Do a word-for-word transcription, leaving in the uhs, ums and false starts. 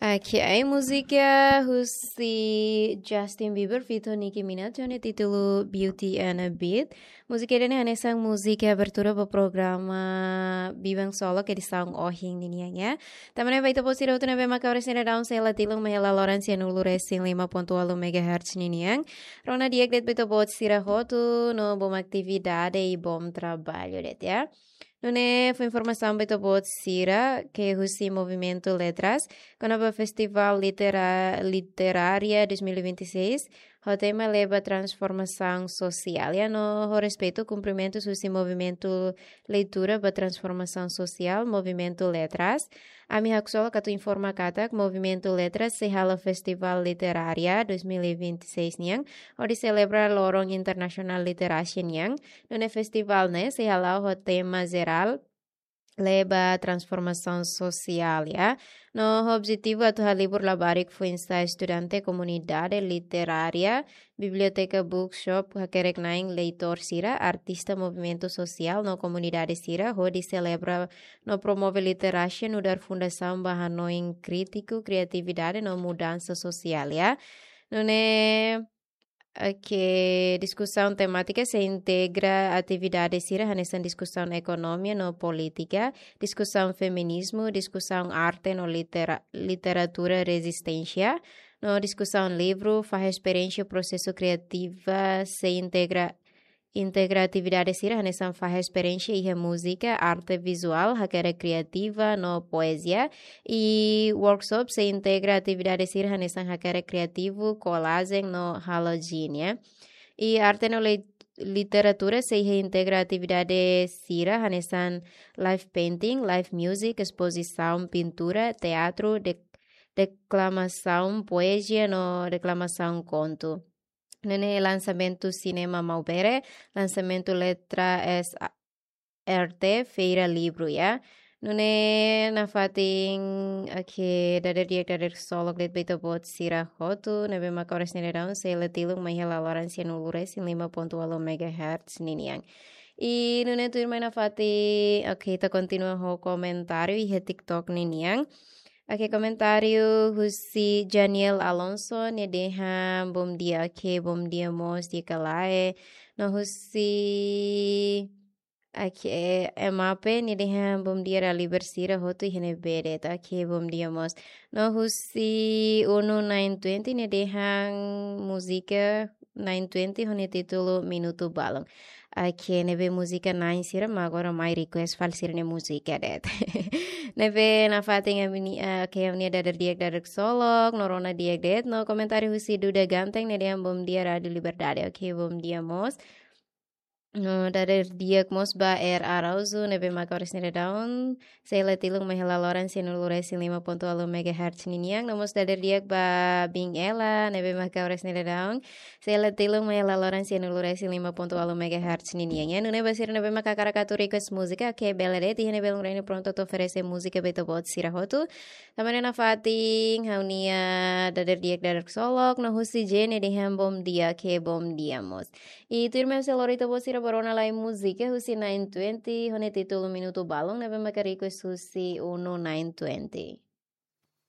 Oke, ai múzika husi Justin Bieber feat Nicki Minaj ho nia títulu Beauty and a Beat. Múzika ida-ne'e hanesan múzika abertura ba programa Biban Solok edisaun ohin ninian, ya. Tanba ne'e ba ita-boot sira hotu ne'ebé maka oras ne'e daudaun sei la tilun mai hela loron sianulu resin lima pontu ualu megahertz ninian. Rona di'ak de'it ba ita-boot sira hotu no bom atividade i bom traballu de'it, ya. Nune'e fó informasaun ba ita-boot sira ke husi Movimentu Letras kona-ba Festival Litera-, Literária dois mil e vinte e seis, ho tema Leba Transformasaun Sosiál, ya, no ho respeitu kumprimentus husi Movimentu Leitura ba Transformasaun Sosiál, Movimentu Letras. Ami haksolok atu informa katak Movimentu Letras sei halo Festival Literária dois mil e vinte e seis nian, hodi selebra Loron Internasionál Literasia nian, nune'e festival ne'e sei hala'o ho tema jerál Leba Transformasaun Sosiál, ya. No ho objetivu atu halibur labarik foin-sa'e estudante, komunidade literária, biblioteka, bookshop, hakerek-na'in leitór sira, artista, movimentu sosiál no komunidade sira, hodi selebra no promove literasia nu'udar fundasaun ba hanoin krítiku, kriatividade no mudansa sosiál, ya. Nune'e, oke, diskusaun temátika sei integra atividade sira hanesan diskusaun ekonomia no polítika, diskusaun feminizmu, diskusaun arte no litera-, literatura rezisténsia, no diskusaun livru, fahe esperiénsia prosesu kriativa sei integra, integra atividade sira hanesan fahe esperiénsia iha múzika, arte vizuál, hakerek kriativa no poezia, i workshop sei integra atividade sira hanesan hakerek kriativu, kolajen no halo jin, ya. I arte no li-, literatura sei integra atividade sira hanesan live painting, live music, espozisaun pintura, teatru, de-, deklamasaun poezia no deklamasaun kontu. Nune'e lansamentu sinema Maubere, lansamentu Letra S R T, Feira Livru, ya. Nune'e nafatin, oke, dadeer di'ak, dadeer ksolok de'it ba ita-boot sira hotu ne'ebé maka oras ne'e daudaun sei la tilun mai hela loron sianulu resin lima pontu ualu megahertz ninian. I nune'e tuirmai nafatin, oke, ita kontinua ho komentáriu iha TikTok ninian. Oke, komentáriu husi Janiel Alonso, nia dehan bom dia, oke, bom dia mós, di'ak ka lae. No husi, oke, Emape, nia dehan bom dia dala ida ba sira hotu iha ne'ebé de'it, oke, bom dia mós. No husi Uno nine twenty, nia dehan múzika nine twenty ho nia títulu Minutu Balun. Oke, ne'ebé múzika na'in sira mak agora mai request fali sira-nia múzika de'it. Ne'ebé nafatin ami-nia, eh, oke, ami-nia dadeer di'ak, dadeer ksolok, no rona di'ak de'it, no komentáriu husi Duda Ganteng, nia dehan bom dia Rádio Liberdade. Oke, bom dia mós. No dadeer di'ak mós ba R Araújo, ne'ebé maka oras ne'e daudaun sei la tilun mai hela loron sianulu resin lima pontu ualu megahertz ninian, no mós dadeer di'ak ba Bin Ela, ne'ebé maka oras ne'e daudaun sei la tilun mai hela loron sianulu resin lima pontu ualu megahertz ninian. Ya, nune'e ba sira ne'ebé maka hakarak atu request múzika, oke, bele de'it, iha ne'e belun raini prontu atu oferese múzika ba ita-boot sira hotu. Tanba ne'e nafatin ha'u-nia dadeer di'ak, dadeer ksolok, no husi Jene dehan bom dia, oke, bom dia mós. I tuirmai ha'u sei lori ita-boot sira ba rona lai múzika husi nine twenty, ho nia títulu Minutu Balun, ne'ebé maka request husi Uno nine twenty.